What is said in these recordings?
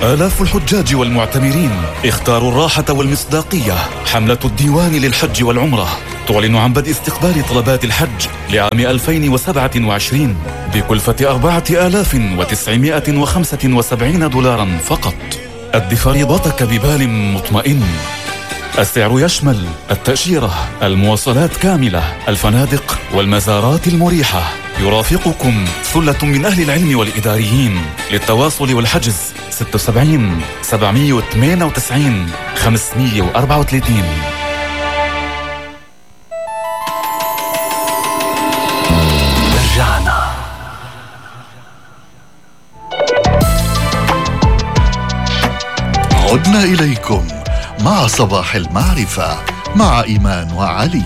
آلاف الحجاج والمعتمرين اختاروا الراحة والمصداقية. حملة الديوان للحج والعمرة تعلن عن بدء استقبال طلبات الحج لعام 2027 بكلفة 4975 دولارا فقط. أد فريضتك ببال مطمئن. السعر يشمل التأشيرة، المواصلات كاملة، الفنادق والمزارات المريحة. يرافقكم ثلة من أهل العلم والإداريين. للتواصل والحجز 76 798 534. رجعنا. عدنا إليكم مع صباح المعرفة مع إيمان وعلي.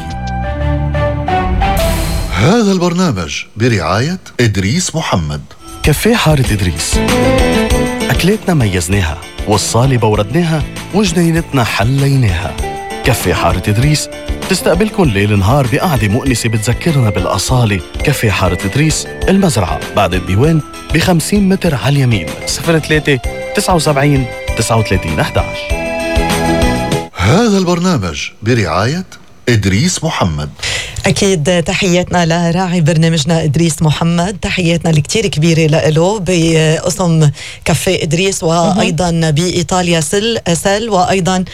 هذا البرنامج برعاية إدريس محمد. كافيه حارة إدريس، أكلاتنا ميزناها، والصالة بوردناها، وجنينتنا حليناها. كافيه حارة إدريس تستقبلكن ليل نهار بقعدة مؤنسة بتذكرنا بالأصالة. كافيه حارة إدريس، المزرعة بعد الديوان ب50 متر على اليمين. 03 79 39 11. هذا البرنامج برعاية إدريس محمد. أكيد تحياتنا لراعي برنامجنا إدريس محمد، تحياتنا الكتير كبيرة له بقسم كافيه إدريس، وأيضا بإيطاليا سل وأيضا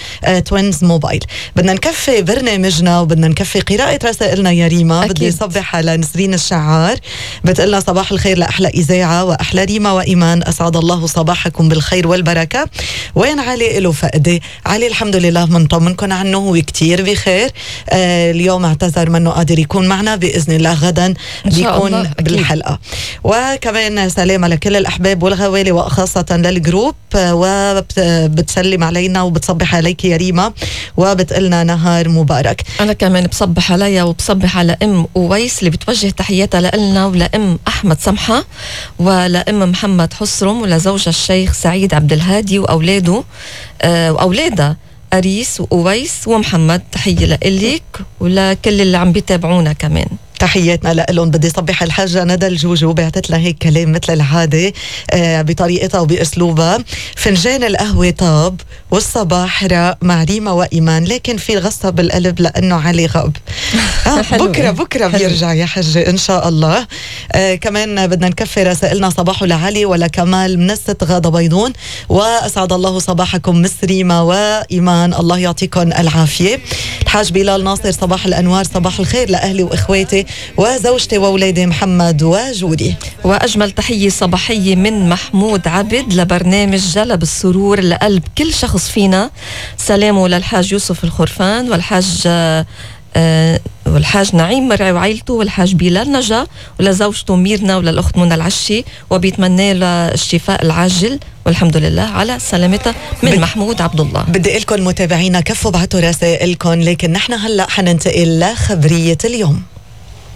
توينز موبايل. بدنا نكفي برنامجنا وبدنا نكفي قراءة رسائلنا يا ريما. بدي صبح على نسرين الشعار، بتقلنا صباح الخير لأحلى إذاعة وأحلى ريما وإيمان، أسعد الله صباحكم بالخير والبركة. وين علي له فقدة؟ علي الحمد لله منطمنكم عنه، هو كتير بخير. اليوم اعتذر منه قادر يكون معنا، بإذن الله غدا بيكون بالحلقة. وكمان سلام على كل الأحباب والغوالي وخاصة للجروب، وبتسلم علينا وبتصبح عليك يا ريما وبتقلنا نهار مبارك. أنا كمان بصبح عليا وبصبح على أم أويس اللي بتوجه تحياتها لنا، ولأم أحمد سمحة، ولأم محمد حسرم، ولزوجة الشيخ سعيد عبد الهادي وأولاده وأولادها أريس وأويس ومحمد. تحية لإلك ولكل اللي عم بيتابعونا كمان. تحياتنا لهم. بدي صبح الحاجة ندى الجوجو، بعتت لها هيك كلام مثل العادة بطريقتها وبأسلوبها. فنجان القهوة طاب والصباح راق مع ريما وإيمان، لكن في غصة بالقلب لأنه علي غاب. بكرة بيرجع يا حجة إن شاء الله. كمان بدنا نكفي رسائلنا صباحو لعلي ولا كمال من الست غادة بيضون، وأسعد الله صباحكم مس ريما وإيمان، الله يعطيكم العافية. الحاج بلال ناصر، صباح الأنوار، صباح الخير لأهلي وإخواتي وزوجتي وأولادي محمد وجودي. وأجمل تحية صباحية من محمود عبد لبرنامج جلب السرور لقلب كل شخص فينا. سلامه للحاج يوسف الخرفان والحاج نعيم مرعي وعائلته، والحاج بلال نجا ولزوجته ميرنا وللأخت منى العشي، وبيتمنى له الشفاء العاجل والحمد لله على سلامتها من محمود عبد الله. بدي لكم متابعينا كفوا بعتوا رسائلكم، لكن نحن هلأ حننتقل لخبرية اليوم.